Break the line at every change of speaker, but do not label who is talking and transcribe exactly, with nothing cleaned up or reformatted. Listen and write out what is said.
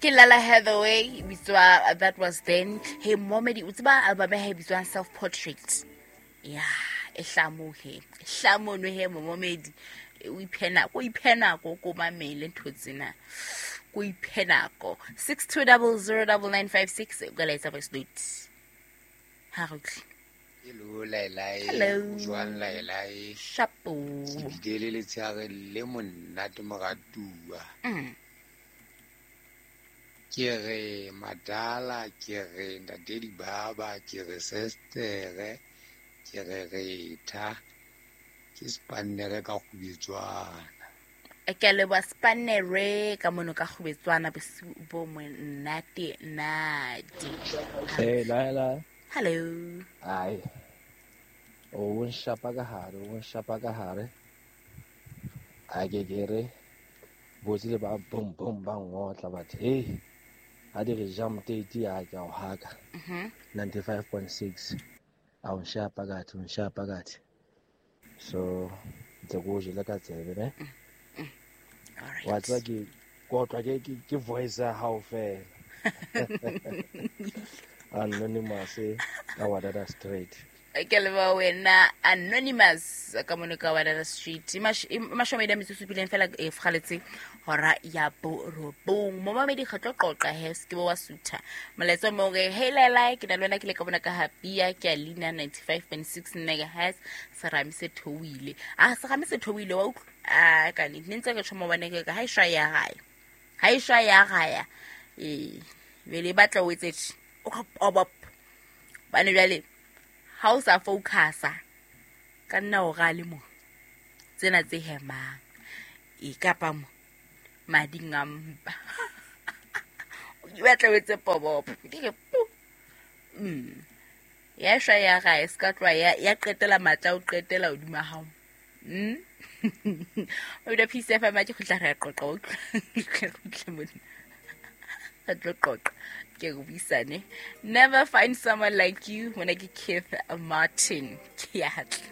Ke Lala Hathaway e bitswa That Was Then. He momedi o tseba album ya hae e bitswang Self Portrait. Ya, e hlamohe. E hlamono he momedi. O iphe nako, o iphe nako ko mamele ntho tsena. Ko iphe nako. six two double zero double nine five six o ka laetsa voice note. Ha re utlwe.
Hello, Laelai.
Hello.
Jwang, Laelai?
Shapo.
Ke bile le letshehare le monate moratuwa.
Mm.
Ke re madala, ke re ntate Dibaba, ke re sestere, ke re retha, ke spannere ka kgubetswana.
Ke a leboha spannere ka mono ka kgubetswana bosiu bo monate nate.
Hey, Laela.
Hello.
Ai. O nshapa ka hare, o nshapa ka hare. A ke ke re botse le ba boom boom ba ngotla batho. Hey. Ha di re jam tete a ke a o haka.
Mhm.
ninety-five point six. A o nshapa ka hare, o nshapa ka hare. So ntse ko jele ka tsebe ne.
Mm, mm. All right.
Wa tseba ke kotlwa ke, ke, ke voice ya hao fela. Anonymous ka Wadada Street.
Ke leboha wena Anonymous ka mono ka Wadada Street. E mash-, e mashome a metsotso e supileng fela e fgaletse hora ya borobong. Momamedi re tlo qoqa he, se ke be wa sutha. Molaetsa o mong re, hey Laela, ke na le wena ke le ka bona ka Hapia, ke a leina ninety-five point six megahertz, serame se theohile. Ah, serame se theohile wa utlwa? Ah, ka nnete, ne ntse ke tjho maobane ke re, ha e shwa ya gaya. Ha e shwa ya gaya. Ee, jwale e batla o etse tje, o ka pop. Hobane jwale ha o sa focusa ka nna o rale mo tsena tse hemang e kapa mo mading a mpa. O batla o etse pobopo. Ke re pu. Mm. Ya shwa ya gae, se ka tloha ya, ya qetela matla, o qetela hodima hao. Mm. O dula Peace F M, ke kgutla re a qoqa, o utlwa. Re kgutle mona. Re tlo qoqa. Ke re buisane. Never find someone like you. Mona ke Keith Martin. Ke a tla.